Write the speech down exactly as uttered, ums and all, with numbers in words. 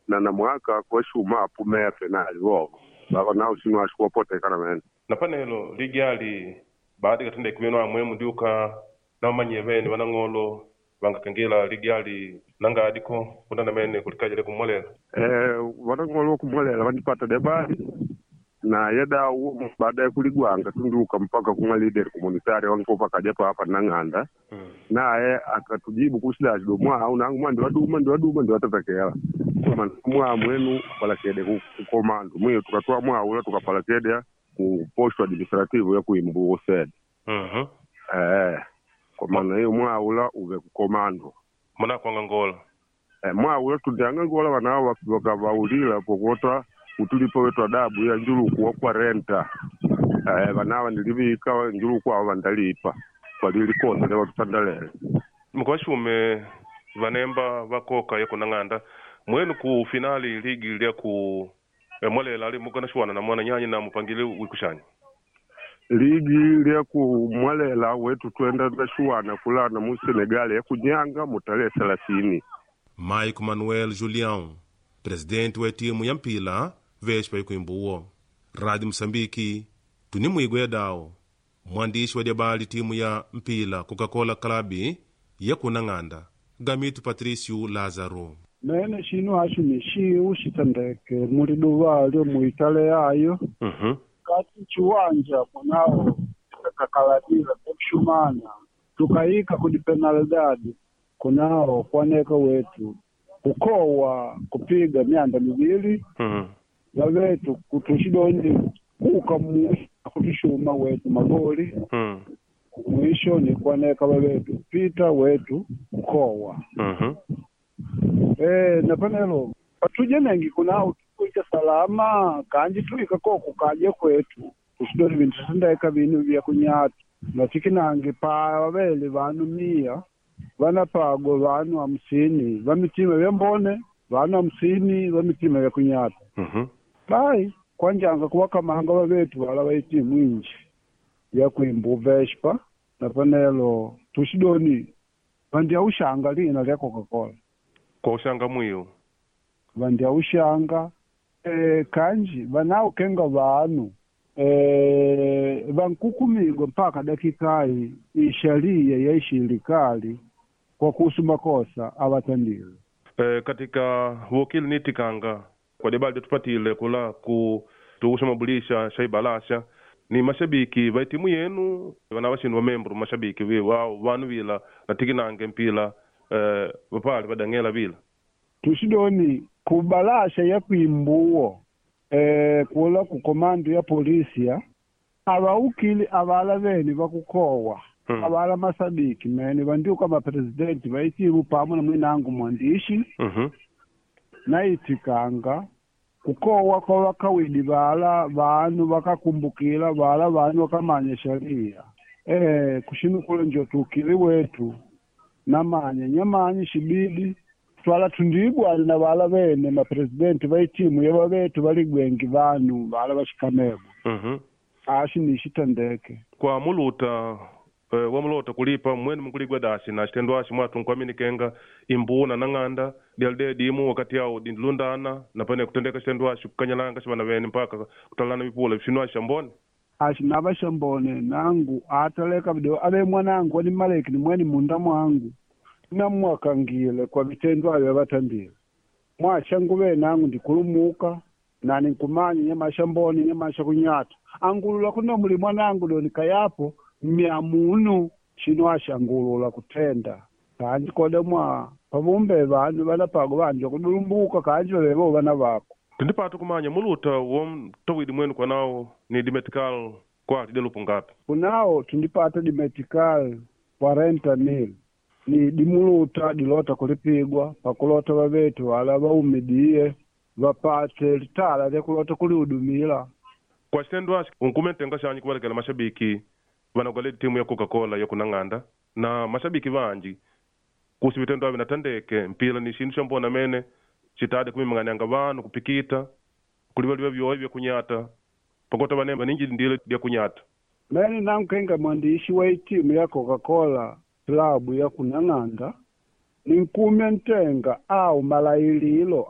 Na na mwaka kwashuma apumeya penali vovo vava nao sinu ashikuwapotekana mene. Na panelo ligi ali baada katenda ikuvenu amwe mundiuka namanye vene vanang'olo vangakengela ligi ali nanga adiko kundana mene kulikaja lekumwalela. Eh, vanang'olo kumwalela vandipata debali na yadawu baada ya kuligwanga tundiuka mpaka kumwa leader komunitari wankopa kaja pa hapa nang'anda. Mm. Naye akatujibu kusidachido mwau nangu mwandi waduma ndi waduma ndi watatakela koma mwa mwenu palakede ku kukomando mwiyo tukatwa mwaula tukapalakede ku posto administrativo ya kuimbuo sede. Mhm. Eh, kwa maana hiyo mwaula uve kukomando. Muna kwanga ngola. Eh, mwaula tundianga ngola wanao wakavaulila pokota utulipo wetu adabu ya njuluku wa kwa renta. Eh, wanawa nilivika njuluku awo vandalipa kwalilikosa lewatutandalele. Mkwashume vanemba vakoka yako nang'anda mwenu ku finali ligi lya ku eh, mwalela ali mukanashuwana na mwana nyanyi na mupangile wikushanya. Ligi lya kumwalela wetu twenda nashuwana kulana mu Senegal ya kunyanga mu tarehe thelathini. Mike Manuel Julião, presidente wa timu ya mpila Vespa ikuimbuwo. Rádio Moçambique, tunimwigwe dawo. Mwandishi wa diabali timu ya mpila Coca-Cola Club ya kunang'anda Gamito Patrício Lázaro. Mene shinu ashumi shiu shitendeke muliduva lyo muitale ayo. Mhm. Kati chiwanja munao kakaladila kushumana tukayika kudi penalidade kunao kwaneka wetu kukowa kupiga myanda mivili. Mhm. Vavetu kutushidoni kuka mu kutushuma wetu magoli. Mhm. Mwisho ni kwaneka vavetu pita wetu kukowa. Mhm. Eh, na panelo patuje nengi kunao tukuita salama kanji tuika koko kaje kwetu tushidoni vintu tendeka vinu vya kunyata natikinange pa vavele vanu mia vanapago vanu hamsini va mitima vya mbone vanu hamsini va mitima vya kunyata. Mhm. Bai kwanjanga kuwakamanga vavetu vala vaitimu inji ya kuimbu Vespa na panelo tushidoni vandya ushanga lina lya Coca-Cola. Kwa ushanga mwiyo. Vandya ushanga e, kanji vanaukenga vanu e, vankukumigwa mpaka dakikai isharia ya ishilikali kwa kuhusu makosa avatandile. Eh, katika wokili nitikanga kwa debali tupatile kula ku tuusha mabulisha shaibalasha ni mashabiki va timu yenu vana vashinu va membro mashabiki vi wao vanu vila na tikinange mpila eh, vapali vadang'ela vila. Tushidoni kubalasha ya kuimbuo e, kula ku komando ya polisia abaukili avala veni vakukowa. Hmm. Avala masabiki mene vandiuka mapresidenti vaitimu pamwe na mwinangu mwandishi. Mhm. Naitikanga kukowa kwa vakawidi vala vanu vakakumbukila vala vanu vakamanya sharia. E, kushinukula njo tukili wetu namanya nyamanyi shibidi twala tundibwana na vala vene mapresidenti vaitimu yava vetu valigwengi vanu vala vashikamego. Mhm. Ashi nishitendeke. Kwa muluta eh, wamulota kulipa mwenu mukuligwa dasi na chitendo ashi mwatu nkwaminikenga imbuna nang'anda dialide dimu wakati yao dindilundana na pane kutendeka chitendo ashi kukanyalanga shivana vene mpaka kutalana vipula vifinu ashi shambone. Ashi nava shambone nangu ataleka video ave mwanangu ani maleki ni mweni munda mwangu namwakangile kwa vitendo avyo vatandile. Mwashanguve nangu ndikulumuka nani nkumanya nyamasha mbone nyamasha kunyata angulula kuno muli mwanangu doni kayapo myamunu shino ashangulula kutenda kanji kode mwa pavumbe vanu vanapago vanja kudulumbuka kanji vavevo vana vako. Tindipata kumanya muluta womtowidi mwenu kwanao ni dimetical kwa tidelupu ngapi? Kunao tundipata dimetical quarenta mil ni dimuluta dilota kulipigwa pakulota vavetu wala vaumidie vapate litala lyakulota kulihudumila. Kwa chitendo ashi unkumentenga shanyi kuvalekela mashabiki vanagwale timu ya Coca-Cola ya kunang'anda na mashabiki vanji kuhusu vitendo avi natandeke mpila ni shindu shambona mene chitade kumimang'anianga vanu kupikita kulivaliva vyoyi vya kunyata pakota vane vaninji ndile lya kunyata. Mene nankenga mwandishi wa itimu ya Coca-Cola klabu ya kunang'anda Ninkumya ntenga au malaililo.